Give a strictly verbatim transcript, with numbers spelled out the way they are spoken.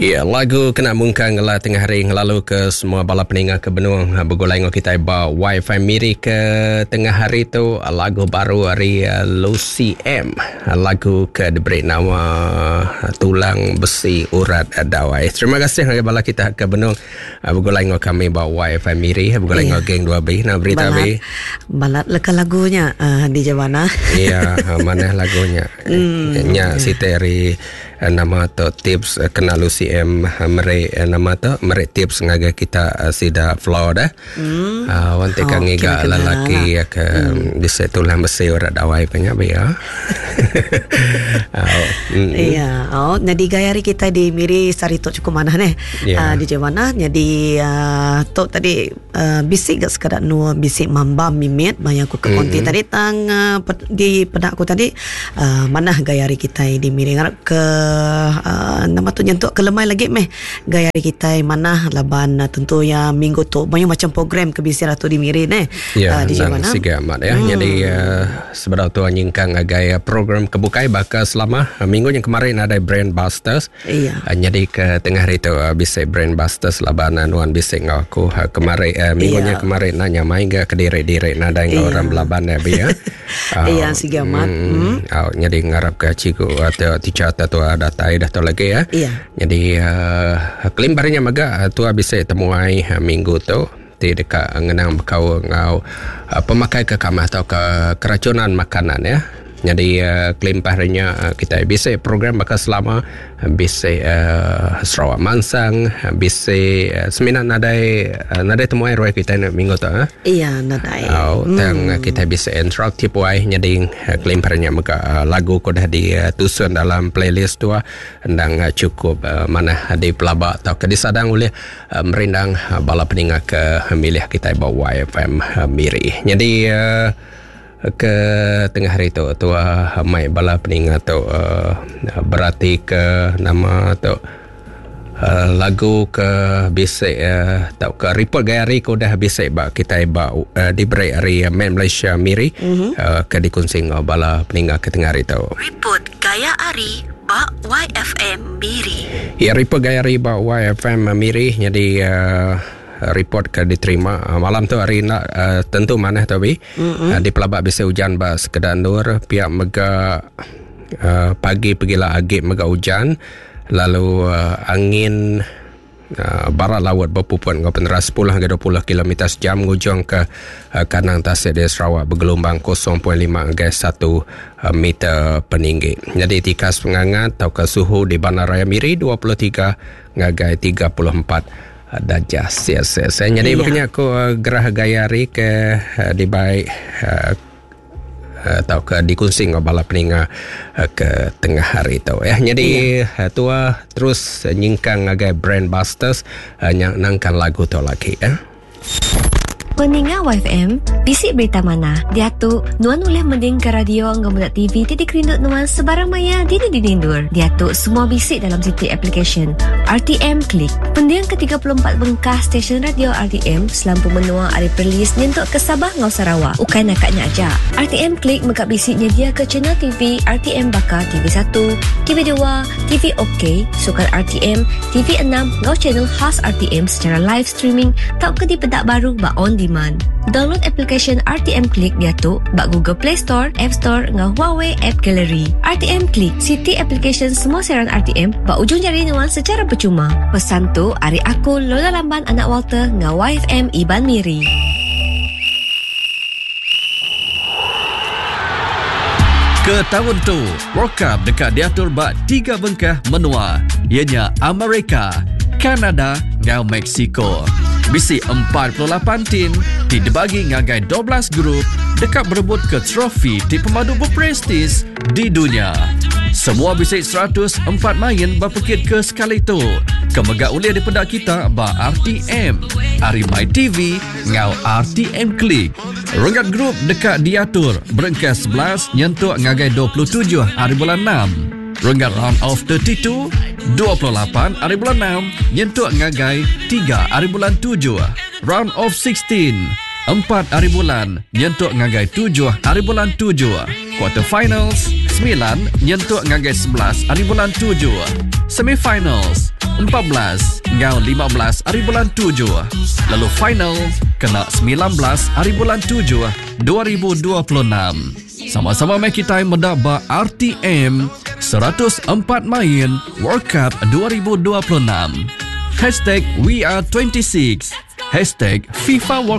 Ya, lagu kena mungkang ngela tengah hari ngelalu ke semua bala peninga ke benung begulai ngau kita ba Wi-Fi Miri ke tengah hari tu lagu baru hari Lucy M. Lagu ke diberi nama Tulang Besi Urat Dawai. Terima kasih ngagai bala kita ke benung begulai ngau kami ba Wi-Fi Miri, begulai ngau geng dua B. Nah berita B. Balat leka lagunya uh, di Jawana. Iya, mana lagunya? Mm. Nya si Terry nama tu tips kena Lucy M mere nama tu mere tips ngagai kita sida floor dah. Hmm. Uh, wanti oh, kang ngiga lelaki lah. Ke hmm. bisa tulang besi urat dawai punya biar. Oh, mm. Iya, oh jadi gaya hari kita di Miri sari tu cukup manah neh. Yeah. Uh, di Jawana jadi uh, tu tadi uh, bisik gak sekadar nu bisik mambam mimit banyak aku ke konti mm-hmm. tadi tang uh, di pedak aku tadi uh, manah gaya hari kita di Miri ngarap ke uh, nama tu nyentuk ke lemai lagi meh gaya hari kita manah laban uh, tentu ya minggu tu banyak macam program ke bisi ratu di Miri neh. Ya, uh, di Jawana siga amat ya. Hmm. Jadi uh, sebenar tu nyingkang agai program kebukai bakal selama uh, minggu yang kemarin ada Brand Busters. Iya. Uh, jadi ke tengah hari tu uh, bisa Brand Busters laban uh, nuan bisa ngau aku uh, kemarin uh, minggunya iya. Kemarin nanya main ga ke diri-diri nadai ngau iya. Orang belaban ya bi ya. Uh, iya siga amat. Hmm. Uh, jadi ngarap ke cikgu atau teacher atau datai dah tu lagi ya. Iya. Jadi uh, kelimbarnya maga tua bisa temuai uh, minggu tu ti dekat ngenang bekau ngau uh, pemakai ke kamar atau ke keracunan makanan ya. Jadi uh, kelimpahannya uh, kita bisa program bakal selama uh, bisa uh, Sarawak Mansang, bisa uh, seminar nadai uh, nadai temuai ruai kita minggu tu ah. Iya nadai. Oh, hmm. Tang kita bisa interaktif wai jadi uh, kelimpahannya mega uh, lagu ko dah ditusun dalam playlist tu endang uh, cukup uh, mana di pelabak atau ke disadang oleh uh, merindang uh, bala peninga ke milih kita bawa Y F M uh, Miri. Jadi uh, ke tengah hari tu tua mai bala peninga tu uh, berarti ke nama tu uh, lagu ke bisik uh, tau ke report gaya hari ko dah bisik ba kita ba uh, diberi hari uh, Man Malaysia Miri mm-hmm. uh, ke dikongsi ngau bala peninga ke tengah hari tu. Report gaya hari ba Y F M Miri. Ya, report gaya hari ba Y F M Miri jadi uh, report ke diterima malam tu hari nak uh, tentu manah tu bi mm-hmm. uh, di pelabak bisa hujan ba sekedar nur pihak mega uh, pagi pergilah agik mega hujan lalu uh, angin uh, barat laut berpuput ngau peneras sepuluh hingga dua puluh kilometer sejam ngujung ke uh, kanang tasik di Sarawak bergelombang kosong perpuluhan lima hingga satu uh, meter peninggi. Jadi tikas pengangat atau ke suhu di Bandaraya Miri dua puluh tiga hingga tiga puluh empat darjah Celsius. Jadi iya. Makanya aku uh, gerah gaya hari ke uh, dibaik uh, atau ke dikongsi dengan bala peninga uh, ke tengah hari tu ya. Jadi iya. uh, tua terus uh, nyingkang ngagai Brand Busters uh, yang nangkan lagu tu lagi ya. Peninga Y F M, bisik berita mana? Dia tu, nuan boleh mending ke radio ngau budak T V titik rindut nuan sebarang maya dini dinindur. Dia tu semua bisik dalam siti application R T M Klik. Pendiang ke tiga puluh empat bengkah stesen radio R T M selampu menua ari Perlis nyentuk ke Sabah ngau Sarawak. Ukai nakaknya aja. R T M Klik megap bisiknya dia ke channel T V R T M bakar T V satu, T V dua, T V OK, Sukan R T M, T V enam ngau channel khas R T M secara live streaming tau ke di pedak baru ba on demand. Download application R T M Klik dia tu bak Google Play Store, App Store ngau Huawei App Gallery. R T M Klik, city application semua siaran R T M bak ujung jari nuan secara percuma. Pesan tu ari aku Lola Lamban anak Walter ngau Y F M Iban Miri. Ke tahun tu, World Cup dekat diatur bak tiga bengkah menua, ianya Amerika, Kanada ngau Mexico. Bisi empat puluh lapan tim ti dibagi ngagai dua belas grup dekat berebut ke trofi ti pemadu berprestis di dunia. Semua bisi seratus empat main berpekit ke sekali tu. Kemegak ulia di pedak kita ba R T M, Ari My T V ngau R T M Klik. Renggat grup dekat diatur berengkas sebelas nyentuk ngagai dua puluh tujuh hari bulan enam. Renggat round of thirty-two, dua puluh lapan hari bulan enam, nyentuk ngagai tiga hari bulan tujuh. Round of sixteen, empat hari bulan, nyentuk ngagai tujuh hari bulan tujuh. Quarter finals, sembilan, nyentuk ngagai sebelas hari bulan tujuh. Semifinals, empat belas enggau lima belas hari bulan tujuh. Lalu final kena semilan belas hari bulan tujuh dua ribu dua puluh enam. Sama-sama meh kita meda ba R T M seratus empat main World Cup dua ribu dua puluh enam. Hashtag We Are twenty-six. Hashtag FIFA World